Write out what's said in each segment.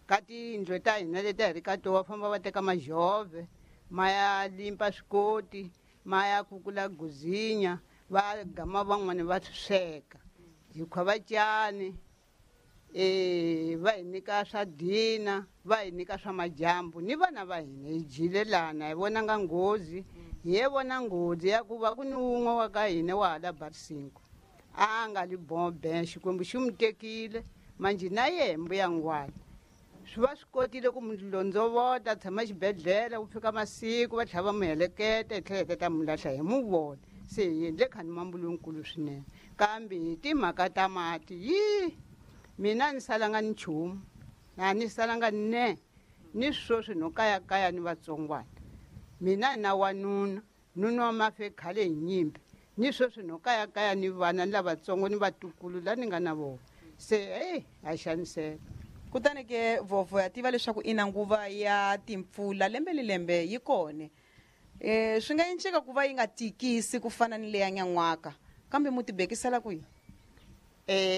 Ka tiyindlu ta hina leti a hi ri ka tona va famba va teka majove ma ya limpa swikoti, ma ya kukula guzinya, va gama van'wani va swi sweka. Hi khwavacani, va hi nyika swa dina, va hi nyika swa majambu ni vana va hina hi dyile lana hi vonanga nghozi. Hi ye vona nghozi ya ku va ku ni wun'we wa ka hina wa hala Barsinko a nga li bombe, Xikwembu xi n'wi tekile manjhe na yehe mbuya ngwani swi va swi kotile ku n'wi londzovota, tshama xibedhlele ku fika masiku va tlhela va n'wi heleketa, hi tlhela hi ta n'wi lahla hi n'wi vona. Se hi endle khani mambu lonkulu swinene, kambe hi timhaka ta mati yi mina ni salanga ni nchumu, a ni salanga ne ni sweswi no kayakaya ni vatsongwana. Mina na wanuna, nuna wa mafe khale hi nyimpi, ni sweswi no kayakaya ni vana ni lavatsongo ni vatukulu la ni nga na vona. Se hey, a xaniseka. Kutani ke vhovho ya tiva leswaku ina nguva ya timpfula lembe ni lembe yi kona. Swi nga enceka ku va yi nga tikisi ku fana ni leya nyan'waka, kambe mu tibekisela kwihi?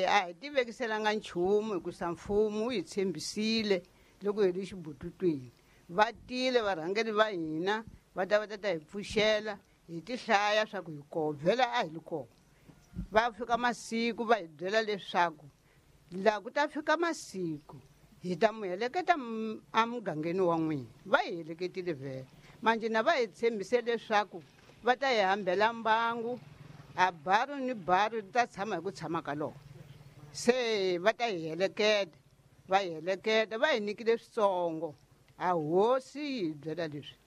A hi tivekiselanga nchumu hikusa mfumo wu hi tshembisile loko hi ri xibututwini. Va tile varhangeri va hina va ta va ta ta hi pfuxela, hi ti hlaya swa ku hi koho, vhela a hi li koho. Va fika masiku va hi byela leswaku laha ku ta fika masiku hi ta mu heleketa emugangeni wa n'wina. Va hi heleketile vhele, manjhe na va hi tshembise leswaku va ta hi hambela mbangu, a baru ni baru ri ta tshama hi ku tshama ka lona. Se va ta hi heleketa, va hi heleketa, va hi nyikile switsongo. A hosi yi hi byela leswi,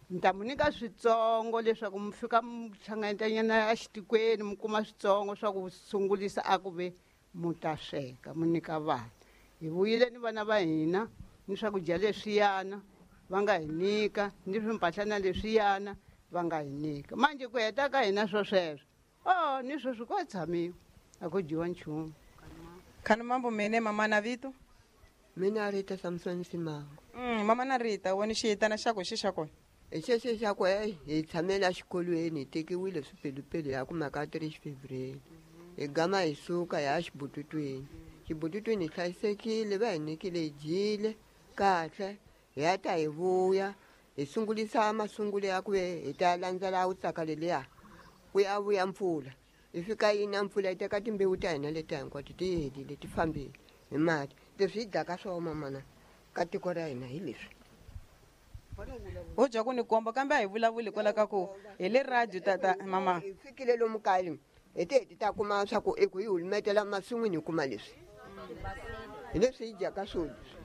ni ta mu nyika switsongo leswaku mi fika mi hlanganyetanyana exitikweni mi kuma switsongo swa ku sungulisa a ku ve mu ta sweka mu nyika vana. Hi vuyile ni vana va hina ni swakudya leswiyana va nga hi nyika, ni swimpahlana leswiyana va nga hi nyika. Manjhe ku heta ka hina swo sweswo, oh, ni sweswi ko tshamiwa, a ku dyiwa nchumu. Khani mambo mene mama na vito? Mina Rita Samson Simango. Mama na Rita, wena xiyitana xa ku xi xa kona? Hi xexo xa ku, hey, hi tshamela xikolweni, hi tekiwile swipelupelu ya ku mhaka 3 Fevereiro. Hi gama hi suka hi ya xibututwini. Xibututwini hi hlayisekile, va hi nyikile hi dyile kahle, hi ya ta hi vuya, hi sungulisa masungulo ya ku ve hi ta landzela wutsaka leliya ku ya vuya mpfula. Hi fika yi na mpfula yi teka timbewu ta hina leti hinkwato ti helile, ti fambile hi mati. Leswi hi dyaka swona mamana ka tiko ra hina hi leswi. Ho dya ku ni komba, kambe a hi vulavuli hikwalaho ka ku hi le radio tata mama. Hi fikile lomu kaya hi te hi ta kuma swa ku i ku hi hulumetela masin'wini hi kuma leswi. Hi leswi hi dyaka swo leswi.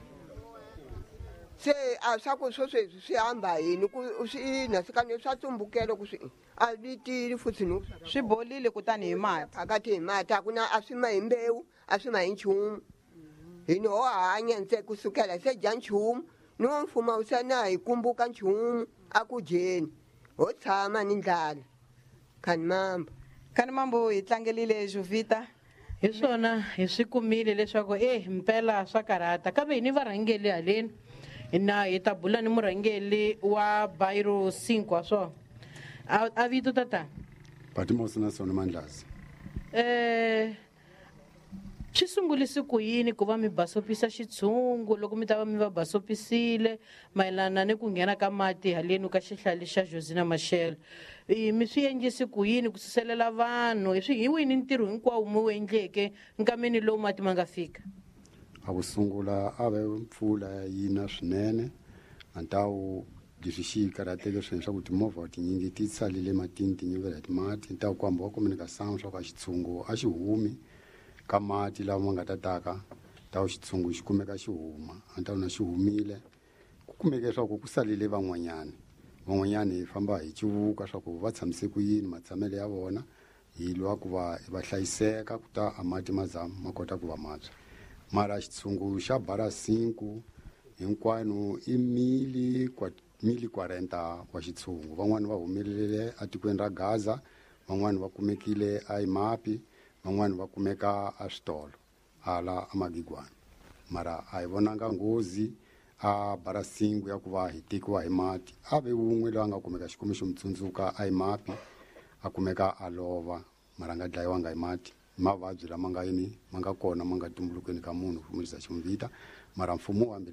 Se a swa ku swo sweswi swi hamba yini ku swi ina swi kane swa tsumbukela ku swi a vitile futhi no swi bolile kutani hi mati. Phakathi hi mati a ku na a swi ma hi mbewu, a swi ma hi nchumu. Hi no hanya ntse kusukela se dya nchumu, ni wa mfumo wu se na hi kumbuka nchumu a ku dyeni. Ho tshama ni ndlala. Khani mambo. Khani mambo hi tlangelile Jovita. Hi swona hi swi kumile leswaku mpela swa karhata, kambe hi ni varhangeli haleni. Na hi ta bula ni murhangeli wa Bairro 5 wa swona. A vito tata? Batimosi na Sona Mandlazi. Swi sungulise ku yini ku va mi basopisa xitshungu loko mi ta va mi va basopisile mayelana ni ku nghena ka mati haleni ka xihlale xa Josina Machel? Mi swi endlise ku yini ku suselela vanhu? Hi swi hi wini ntirho hinkwawo mi wu endleke nkameni lowu mati ma nga fika? A ku sungula a ve mpfula yi na swinene, a ntawu leswi xi karhateke swinene swa ku timovha tinyingi ti salile matini ti nyuvela hi mati. Ntawu ku hamba wa communication swa ku a xitshungu a xi humi ka mati lawa ma nga ta taka, ntawu xitshungu xi kumeka xi huma, a ntawu na xi humile. Ku kumeke leswaku ku salile van'wanyani, van'wanyani hi famba hi civuka swa ku va tshamise ku yini matshamelo ya vona, hi lwa ku va va hlayiseka ku ta a mati ma za ma kota ku va matshwa. Mara xitshungu xa Bara 5 hinkwano i mili 40 wa xitshungu. Van'wani va humelele etikweni ra Gaza, van'wani va kumekile a Imapi, van'wani va kumeka a switolo hala a Magigwana. Mara a hi vonanga nghozi a Bara 5 ya ku va hi tekiwa hi mati. A ve wun'we loyi a nga kumeka Xikwembu xi n'wi tsundzuka a Imapi, a kumeka a lova, mara a nga dlayiwanga hi mati. Mavabyi lama nga yini ma nga kona ma nga tumbulukeni ka munhu, ku xi n'wi vita. Mara mfumo wu hambile